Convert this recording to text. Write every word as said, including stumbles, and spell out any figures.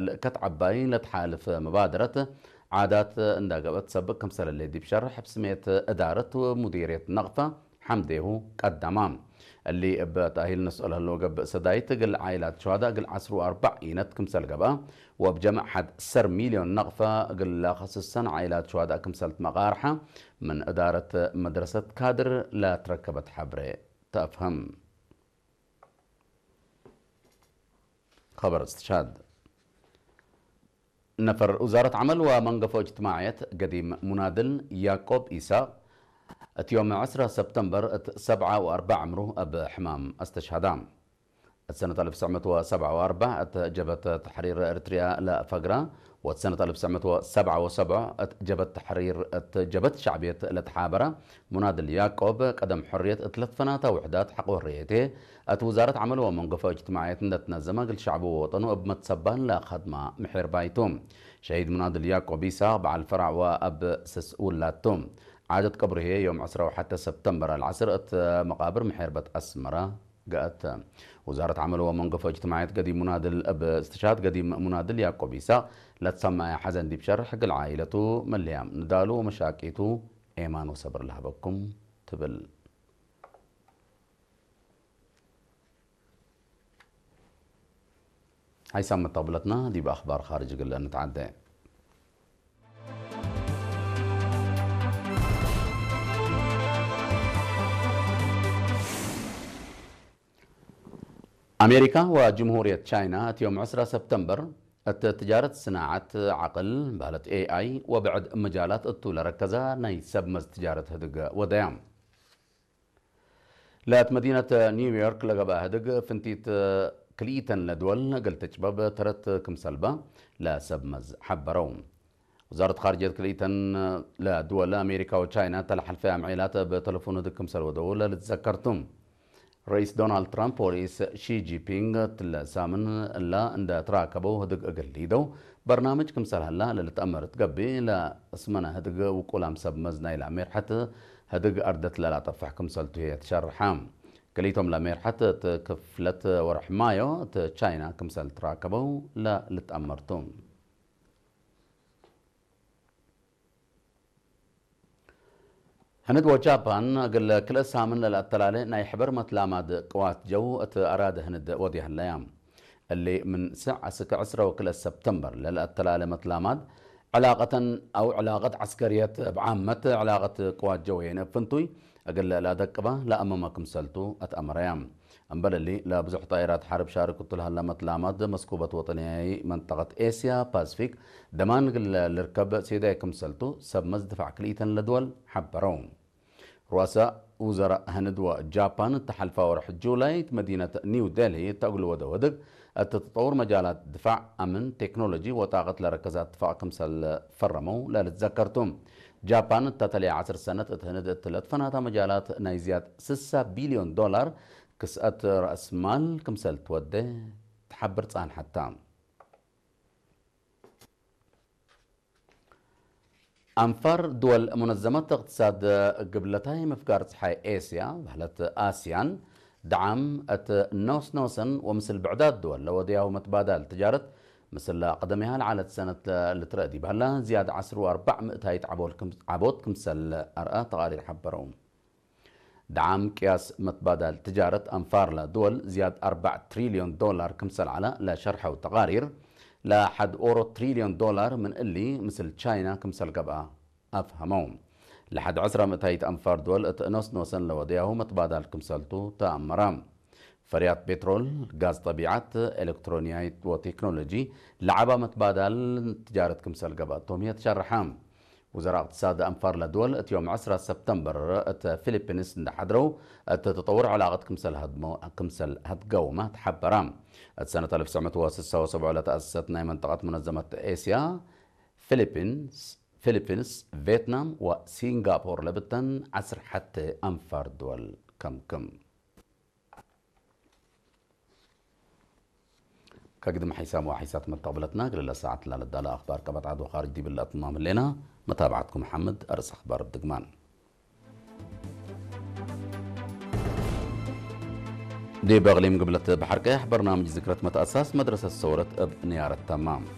ልእከት ዐባይ ለትሓልፍ መባደረት ዓዳት እንዳ ገብአት ሰብቅ ክምሰል ህሌት ዲብ ሸርሕ፣ እብ ስሜት እዳረት ወሙዲርየት ነቅፈ ሐምዴሁ ቀደማ። እሊ እብ ተእሂል ንስኦ ለህለው ገብእ ሰዳይት እግል ዓኢላት ሸዋዳ እግል ዐስሩ ወአርበዕ ኢነት ክምሰል ገብአ፣ ወእብ ጀምዕ ሐድ ሰር ሚልዮን ነቅፈ እግል ለከስሰን ዓኢላት ሸዋዳ ክምሰል ትመቃርሐ፣ ምን እዳረት መድረሰት ካድር ለትረከበት ሐብሬ ተአፍህም። ኸበር እስትሻድ። ነፈር ውዛረት ዐመል ወመንገፎ እጅትማዕየት ገዲም ሙናድል ያቆብ ኢሳቅ፣ እት ዮም ዕስረ ሰብተምበር እት ሰብዓ ወአርበዕ ዕምሩ እብ ሕማም አስተሽሃዳ። እት ሰነት አልፍ ትስዕ ምእት ወሰብዓ ወአርበዕ እት ጀብሀት ተሕሪር ኤሪትርያ ለፈግራ፣ ወእት ሰነት አልፍ ትስዕ ምእት ወሰብዓ ወሰብዕ እት ጀብሀት ተሕሪር እት ጀብሀት ሸዕብየት ለተሓበረ፣ ሙናድል ያቆብ፣ ቀደም ሕርየት እት ለትፈናታ ውሕዳት ሐቅ ወሕርየቴ፣ እት ውዛረት ዐመል ወመንገፎ እጅትማዕየት እንደ ትነዘመ፣ እግል ሸዕቡ ወወጠኑ እብ መትሰባን ለከድማ ምሒርባይ ቱ። ሸሂድ ሙናድል ያቆብ ኢሳቅ በዓል ፈራዕ ወአብ ስስ ውላድ ቱ። ዓደት ቀብሩ ህዬ ዮም ዕስራ ወሐተ ሰብተምበር አልዐስር እት መቃብር ምሒርበት አስመረ ገአት። ውዛረት ዐመል ወመንገፎ እጅትማዕየት ገዲም ሙናድል እብ እስትሽሃድ ገዲም ሙናድል ያቆብ ኢሳቅ ለትሰመዐ ሐዘን ዲብ ሸርሕ፣ እግል ዓኢለቱ፣ መልህያም ንዳሉ ወመሻቂቱ ኤማን ወሰብር ለሀበኩም ትብል። ሓይሳም መተቅብለትና ዲብ አኽባር ኻርጅ እግል እንትዓዴ። አሜሪካ ወጅምሁርየት ቻይና እት ዮም ዕስራ ሰብተምበር እት ትጃረት ስናዐት ዐቅል በህለት ኤ አይ ወብዕድ መጃላት እቱ ለረከዛ ናይ ሰብ መዝ ትጃረት ህድግ ወደያ። ለእት መዲነት ኒውዮርክ ለገብአ ህድግ ፍንቲት ክልኢተን ለድወል እግል ትጭበብ ተረት ክምሰልበ ለሰብ መዝ ሐበረው። ውዛረት ካርጅየት ክልኢተን ለድወል አሜሪካ ወቻይና እተ ለሐልፈ አምዔላት እብ ተለፎን ህድግ ክምሰል ወደው ለልትዘከር ቱ። ረኢስ ዶናልድ ትራምፕ ወረኢስ ሺ ጂንፒንግ እትለ ሳምን እላ እንደ ትራከበው ህድግ እግል ሊደው በርናምጅ ክምሰል ሀላ ለልትአመር እት ገብእ፣ ለአስመነ ህድግ ውቁላም ሰብ መዝ ናይለ ሜርሐት ህድግ አርደት ለላጠፍሕ ክምሰልቱ ህዬ ትሸርሐ። ክልኢቶም ለሜርሐት እት ክፍለት ወርሕ ማዮ እት ቻይና ክምሰል ትራከበው ለልትአመር ቱ። ህንድ ወጃፓን እግል ክልኤ ሳምን ለለአተላሌ ናይ ሕበር መትላማድ ቅዋት ጀው እት አራደ ህንድ ወድየ ህለያ። እሊ ምን ስዕ አስክ ዕስረ ወክልኤ ሰብተምበር ለለአተላሌ መትላማድ፣ ዕላቀተን አው ዕላቀት ዐስከርየት እብ ዓመት፣ ዕላቀት ቅዋት ጀውየን እብ ፍንቱይ እግል ለአደቅበ ለአመመ ክምሰልቱ አትአመረያ። እምበል እሊ፣ ለብዙሕ ጣይራት ሐርብ ሻርክ እቱ ለሀለ መትላማድ መስኩበት ወጠንያይ መንጠቀት ኤስያ ፓስፊክ ደማን እግል ልርከብ ሴዳይ ክምሰልቱ ሰብ መዝ ድፋዕ ክልኢተን ለድወል ሐበረው። ሩአሰ ውዘራእ ህንድ ወጃፓን እተ ሐልፋ ወርሕ ጁላይ እት መዲነት ኒው ዴልሂ እተ እግል ወደው ህድግ እት ተጠውር መጃላት ድፋዕ፣ አምን፣ ቴክኖሎጂ ወጣቀት ለረከዘ እትፋቅ ክምሰል ፈረመው ለልትዘከር ቱ። ጃፓን እተ ተልየ ዐስር ሰነት እት ህንድ እት ለትፈናታ መጃላት ናይ ዝያድ ስሳ ቢልዮን ዶላር ክስአት ረአስ ማል ክምሰል ትወዴ ተሐብር ጻንሐት ተ። አንፋር ድወል ሙነዘመት እቅትሳድ ግብለታይ ምፍጋር ጸሓይ ኤስያ በህለት አስያን፣ ደዓም እት ኖስኖሰን ወምስል ብዕዳት ድወል ለወደያሁ መትባዳል ትጃረት፣ ምስል ቀደሜሃ ለዐለት ሰነት ልትረአ ዲብ ሀላ፣ ዝያድ ዐስር ወአርበዕ ምእታይት ዐቦል ክም-፣ ዐቦት ክምሰል አርአ ተቃሪር ሐበረው። ደዓም ቅያስ መትባዳል ትጃረት አንፋር ለድወል ዝያድ አርበዕ ትሪልዮን ዶላር ክምሰል ዐለ ለሸርሐው ተቃሪር፣ ለሐድ ኦሮ ትሪልዮን ዶላር ምን እሊ ምስል ቻይና ክምሰል ገብአ አፍሀመው። ለሐድ ዐስራ ምእታይት አንፋር ድወል እት ኖስኖሰን ለወደያሁ መትባዳል ክምሰልቱ ተአመረ። ፈርያት ፔትሮል፣ ጋዝ ጠቢዐት፣ ኤሌክትሮንያይት ወቴክኖሎጂ ለዐባ መትባዳል ትጃረት ክምሰል ገብአቶም ህዬ ተሸርሐ። ውዘራእ እቅትሳድ አንፋር ለድወል እት ዮም ዐስራ ሰብተምበር እት ፊሊፒንስ እንደ ሐድረው፣ እት ተጠውር ዕላቀት ክምሰል ሀድሞ-፣ ክምሰል ሀድገውመ ተሐበረ። እት ሰነት አልፍ ትስዕ ምእት ወስሳ ወሰብዑ ለተአሰሰት ናይ መንጠቀት ሙነዘመት ኤስያ፣ ፊሊፒንስ፣ ፊሊፒንስ፣ ቬትናም ወሲንጋፖር ለብተን ዐስር ሐቴ አንፋር ድወል ከምክም። ከግድም ሐይሳም ወሐይሳት መተቅብለትና፣ እግል ለሳዐት ላለዳለ አኽባር ቀበት ዐድ ወኻርጅ ዲብለ አትማም ህሌና። መታብዐትኩም ሐምድ፣ አርእስ አኽባር እብ ድግማን። ዲብ እቅሊም ግብለት በሐር ቀያሕ በርናምጅ ዝክረት መትአሳስ መድረሰት ሰውረት እብ ንያረት ተማም።